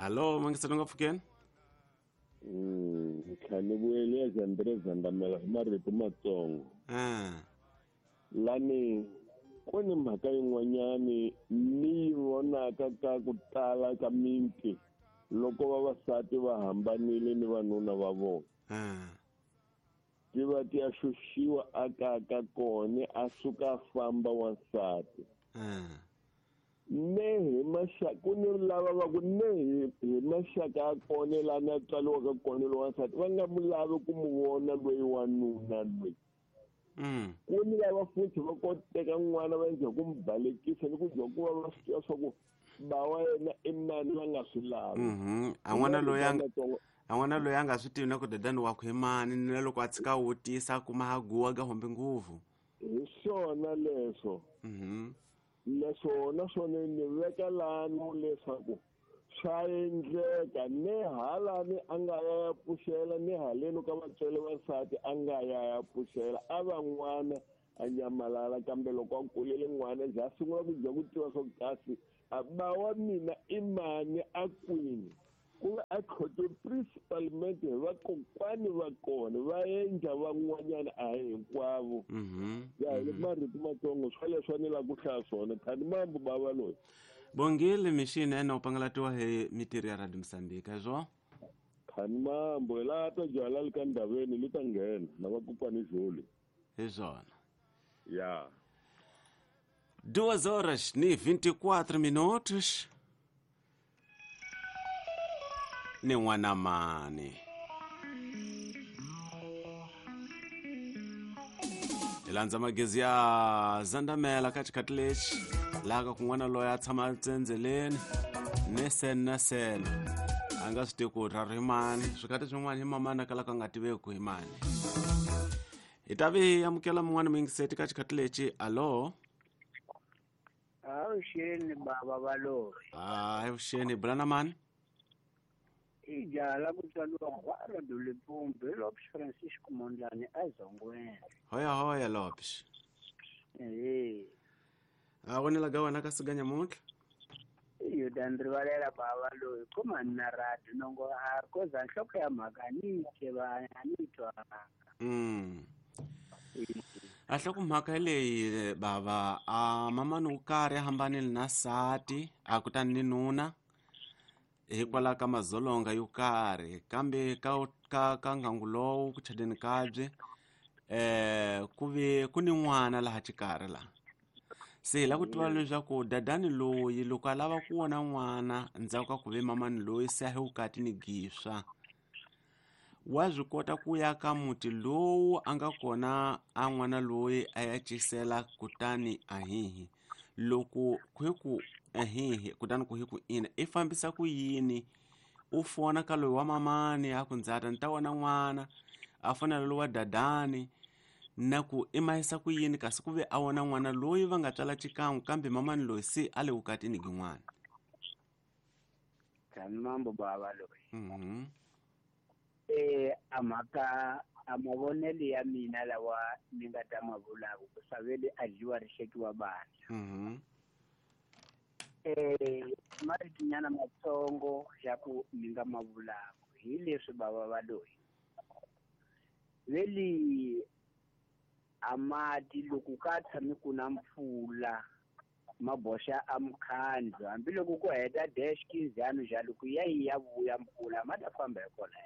Hallo mangiselo nga pfukeni. Ntlhanu vuyele ya André Zandamela hi marito matsongo. Lani ku ni mhaka yin'wanyani ni yi vonaka ka ku tala ka miti loko vavasati va hambanile ni vanuna va vona. Ti va ti ya xuxiwa a kaya ka kona a suka a famba wansati. Ne hi maxaka ku ni lava va ku ne hi maxaka ya kona laha na tswariwaka kona loyi wansati va nga mu lavi ku mu vona loyi wanuna loyi. Ku ni lava futhi va koteka n'wana va endla ku mu balekisa ni ku dya ku va va swi tiva swa ku ba wa yena i mani va nga swi lavi. A n'wana loyi a n'wana loyi a nga swi tivi na ku dadani wakwe i mani ni na loko a tshika wutisa kuma ha guwa ka hombi nguvu. Hi swona leswo. Leswo naswona ni veka lani leswaku swa endleka ne halani a nga ya pfuxela ne haleni ka vatswari vasati a nga ya pfuxela a va n'wana a nyamalala kambe loko a kulele n'wana njhe a sungula ku dya ku tiva swa kasi ba wa mina i mani a kwini ku va a khote principalmente hi vakokwani va kona va endla van'wanyana a hi hinkwavo. Ya hi marito matsongo swa leswi ni lava ku hlaya swona khani mambo bava loyi. Bongile mixini ene u pangalatiwa hi mitirho ya Radio Mozambique hezwo. Khani mambo hi laha ta byala le ka ndhaveni li ta nghena na vakokwani joli. Hi swona. Ya. 2 horas ni 24 minutos. Ni n'wana mani. Hi landza magezi ya Zandamela ka xikhathi lexi laha ka kun'wana loyi a tshama tsendzeleni ni sen na sen a nga swi tivi ku ra ri mani swikhathi swin'wana hi mamani a kalaka a nga tiveki ku hi mani. Hi ta vi amukela mun'wana muyingiseti ka xikhathi lexi. Allo. Avuxeni baba valoyi. Avuxeni bula na mani? I jaha la ku tswariwa Gwara Dulipumbu hi Lopes Francisco Mondlane eZongweni. Hoya hoya Lopes. A vonela ga wena ka siga nyamuntlha? Iyo ta ndzi rivalela bava loyi kuma ni na radio nongo a koza nhloko ya mhaka ni tiva a ni twanga. A nhloko mhaka leyi bava a mamani wo karhi a hambanile na sati a kutani ni nuna hikwalaho ka mazolonga yo karhi kambe ka ngangu lowu ku chadeni kabye ku ve ku ni n'wana laha xikarhi laha se hi lava ku tiva leswaku dadani loyi loko a lava ku vona n'wana ndzhaku ka ku ve mamani loyi se a hi vukati ni giswa wa swi kota ku ya ka muti lowu a nga kona a n'wana loyi a ya cisela kutani ahihi loko ku hi ku ahihi kutani ku hi ku ina i fambisa ku yini u fona ka loyi wa mamani a ku ndzata ni ta vona n'wana a fonela loyi wa dadani na ku i mahisa ku yini kasi ku ve a vona n'wana loyi va nga tswala xikan'we kambe mamani loyi se a le vukatini gin'wana. Tani mambo bava loyi. A mhaka a mavonelo ya mina lawa ni nga ta ma vulaka ku saveli a dyiwa ri hlekiwa bandla. Maritinyana matsongo ya ku ni nga ma vulaka hi leswi bava va loyi veli a mati loko ka tshami ku na mpfula maboxa a mukhandlu hambiloko ku heta dash kinzano njalo ku ya yi ya vuya mpfula ma ta famba hi kona.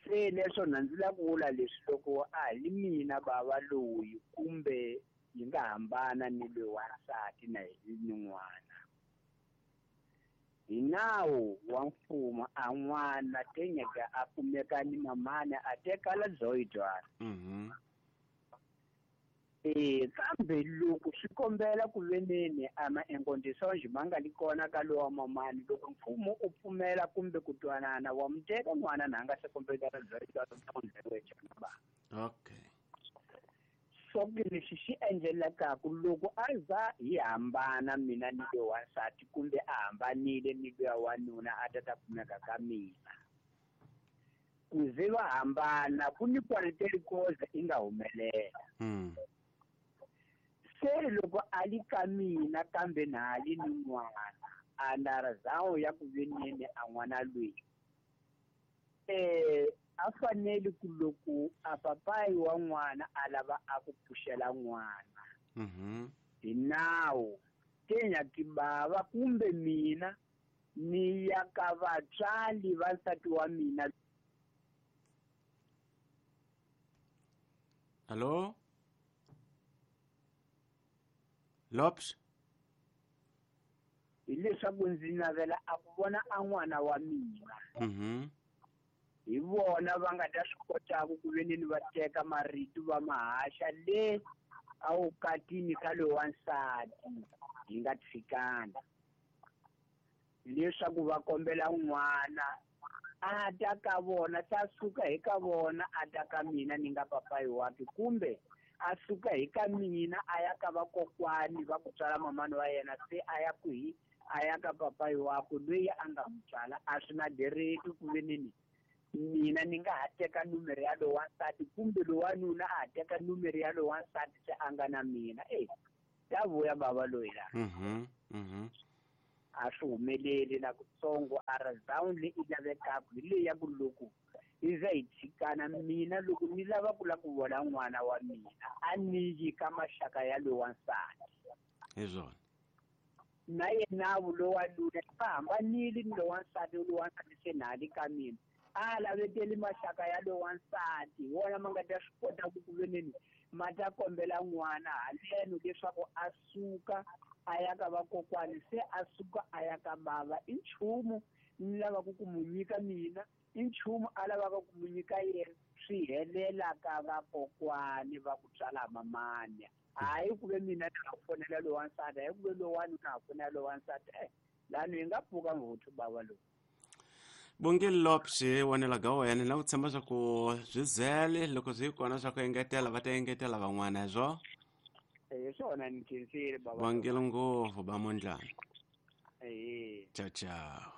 Se leswo na ndzi lava ku vula leswi loko a hi mina bava loyi kumbe yi nga hambana ni loyi wansati na hi ni n'wana hi nawu wa mfumo a n'wana tenyeka a kumeka ni mamani a tekala dzoyidzwana. Kambe loko swi kombela ku veneni ama enkondiso ma nga li kona ka lowa mamani loko mfumo u pfumela kumbe ku twanana wa muteka n'wana na nga se kombela ba. Okay. So lexi xi endlelakaku loko a za hi hambana mina ni loyi wansati kumbe a hambanile ni loyi wanuna a ta kumeka ka mina ku ze va hambana ku ni kwaleteli koza i nga humelela. Se loko a li ka mina kambe na ha li ni n'wana Andarazawu ya ku veneni a n'wana loyi a fanele ku loko a papayi wa n'wana a lava a ku pfuxela n'wana hi nawu tenya tibava kumbe mina ni ya ka vatswali va nsati wa mina. Allo Lopes, hileswaku ndzi navela a ku vona a n'wana wa mina. Hi vona va nga ta swi kotaka ku veneni va teka marito va mahaxa le a wukatini ka loyi wa nsati hi nga tshikana, leswaku va kombela n'wana a ta ka vona, ta suka hi ka vona a ta ka mina ni nga papayi wakhe, kumbe a suka hi ka mina a ya ka vakokwani va ku tswala mamani wa yena, se a ya kwihi? A ya ka papayi wakwe loyi a nga n'wi tswala. A swi na dereki ku veneni mina ni nga ha teka numero ya loyi wa nsati kumbe loyi wa nuna a ha teka numero ya loyi wa nsati se a nga na mina. Ya vuya bava loyi la. A swi humeleli na kutsongo. A razawuni leyi i lavekaka hi leyi ya ku loko i za hi tshikana, mina loko ni lava ku la ku vona n'wana wa mina a ni yi ka maxaka ya loyi wa nsati. Hi swona. Na yena loyi wa nuna va hambanile ni loyi wa nsati, loyi wa nsati se na hali ka mina a laveteli maxaka ya loyi wa nsati, hi wona ma nga ta swi kota ku ku veneni ma ta kombela n'wana haleno leswaku a suka a ya ka vakokwani, se a suka a ya ka bava. I nchumu ni lavaka ku mu nyika mina, i nchumu a lavaka ku mu nyika yena, swi helela ka vakokwani va ku tswala mamani. Hayi ku ve mina ni ha fonela loyi wa nsati, hayi ku ve lowani na ha fonela loyi wa nsati. Lani hi nga pfuka ngopfu bava lowu. Bongile Lopes, wonela ga wena na ku tshemba swa ku swi zele loko swi kona swa ku engetela va ta engetela van'wana hi swo. Hi swona ni khensile baba. Bongile ngopfu ba mondlana. Ciao ciao.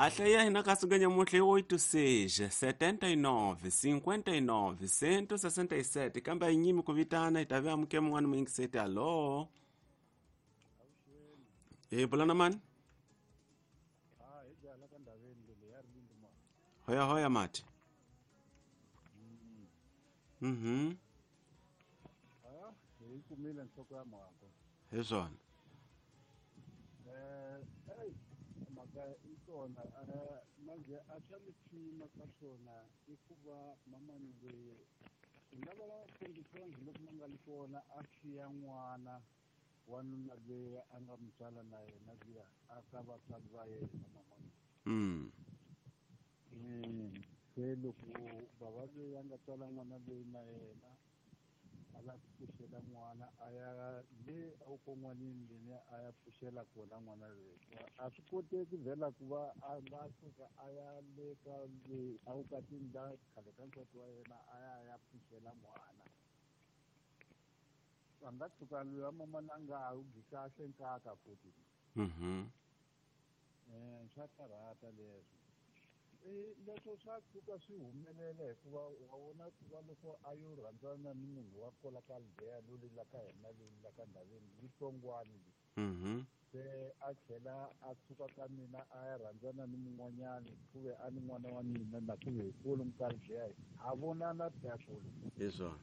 Ahleya hina kasuganya muhle 86 79 59 167 kambe a yi nyimi ku vitana hi ta ve amuke mun'wana muyingiseti. Allo, hi bula na mani? Hoya hoya mati. Hi kumile nhloko ya mhaka. Hi swona. Mhaka i kona manje a swa lexima ka swona i ku va mamani loyi hi nga va fambisana loko ma nga li kona a siya n'wana wa nuna loyi a nga n'wi tswala na yena luya a ka vatswari va yena mamani. Se loko bava loyi a nga tswala n'wana loyi na yena a la ku pfuxela n'wana a ya le awukon'wanini leni a ya pfuxela kona n'wana loyi. A swi koteki vhela ku va a nga suka a ya le ka le awukatini la khale ka nsati wa yena a ya a ya pfuxela n'wana. A nga tshuka loyi wa mamana a nga ha wu gi kahle nkaka futhi. Swa karhata leswo. Leswo swa tshuka swi humelela hikuva wa vona ku va loko a yo rhandzana ni munhu wa kwala ka Aldeya loli la ka hina loli la ka ndhaveni litsongwani le. Se a tlhela a suka ka mina a ya rhandzana ni mun'wanyani ku ve a ni n'wana wa mina na ku ve hi kulu ka Aldeya ha vonana phela. Hi swona.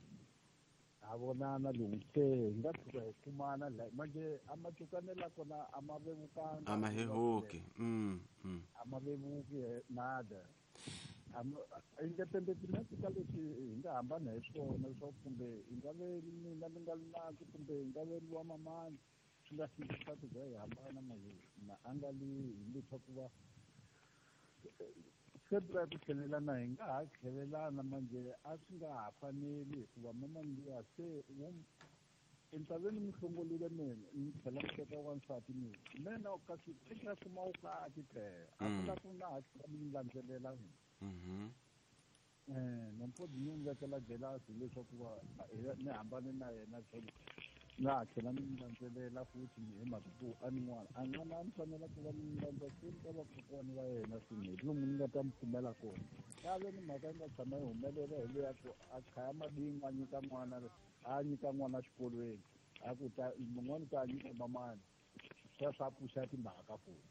Ha vonana lowu se hi nga tshuka hi kumana la manje a macukanela kona a ma vevukanga. A ma hehuki. A ma vevuki nada. Independent ka leswi hi nga hambana hi swona leswaku kumbe hi nga ve mina ni nga li nandzu kumbe hi nga ve wa mamani swi nga fiki ku za hi hambana manje na a nga li hi leswaku va se ku tlhelelana hi nga ha tlhelelana manje a swi nga ha faneli hikuva mamani luya se entshaveni mi hlongolile mina ni tlhela ni teka wansati mina mina kasi i nga kuma wukati phela a ku la ku na ha tlhela mi ni landzelela mina. Nampodi ni n'wi vekela jelasi leswaku va ni hambane na yena tlhelo. Na tlhela ni n'wi landzelela futhi hi mhaka ku a ni n'wana a n'wana a ni fanela ku va ni n'wi landza seni ka vakokwani va yena swinene hi lomu ni nga ta mi pfumela kona. Kave ni mhaka yi nga tshama yi humelela hi leya ku a chaya madingu a nyika n'wana a nyika n'wana xikolweni a ku ta mun'wana ta nyika mamani sweswo a pfuxa timhaka futhi.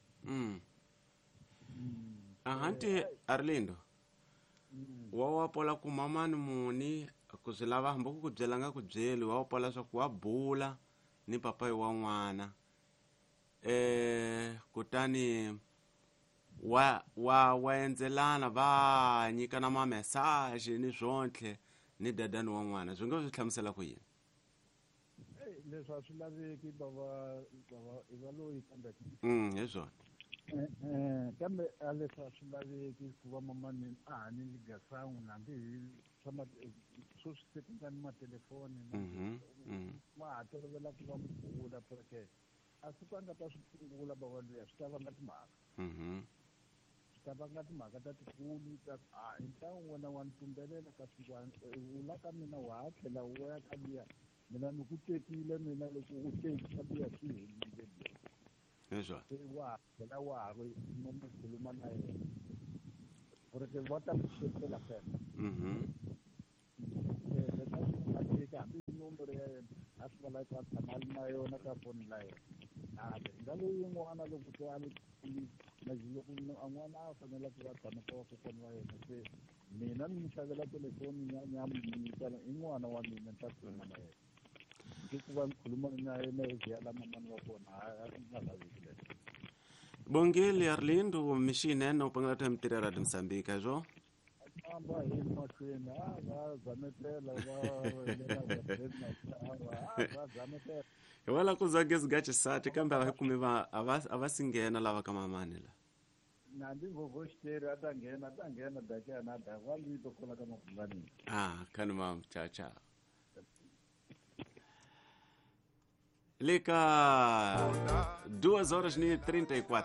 Ahanti Arlindo wa wa pola ku mamani muni ku swi lava hambi ku ku byela nga ku byeli wa pola swa ku wa bula ni papayi wa n'wana kutani wa wa wa endzelana va nyikana ma-message ni swontlhe ni dadani wa n'wana swi nga swi hlamusela ku yini? Leswi a swi laveki bava bava i va loyi kambe hi swona. Kambe a leswi a swi laveki ku va mamani a ha ni ligasangu hambi hi swa sweswi se ku nga ni matelefoni ma ha tolovela ku va mubula porque a siku a nga ta swi phungula bava luya swi ta vanga timhaka. Swi ta vanga timhaka ta tikulu ta a hi ntlangu wena wa ni tumbelela ka swin'wana u la ka mina wa ha tlhela u ya ka luya mina ni ku tekile mina loko u teki ka luya swi helile. Hi swona. Se wa tlhela wa ha ri no mu khuluma na yena porque va ta ku xekela fela. Leswi a swi nga teki hambi nomboro ya yena a swi va la a tshama a ri na yona ka foni la yena. Kambe nga leyin'wana loko se a loko n'wana a fanele ku va tshama ka vakokwana wa yena se mina ni n'wi xavela telefoni ni ya n'wi nyika i n'wana wa mina ni ta khuluma na yena. Hikuva ni khuluma na yena hi ya la mamani wa kona a swi nga laveki leswo. Bongile Arlindo mixinene u pangela ta mitirho ya Radio Mozambique swo? Famba hi mahlweni a va zametela va va zametela. Hi wala ku za gezi ga xisati kambe a va kumi va a va si nghena lava ka mamani la. Na ndi vovoxiteri a ta nghena daka na da wa lito kola ka mabungani. Khani mam cha cha. Lika 2h34.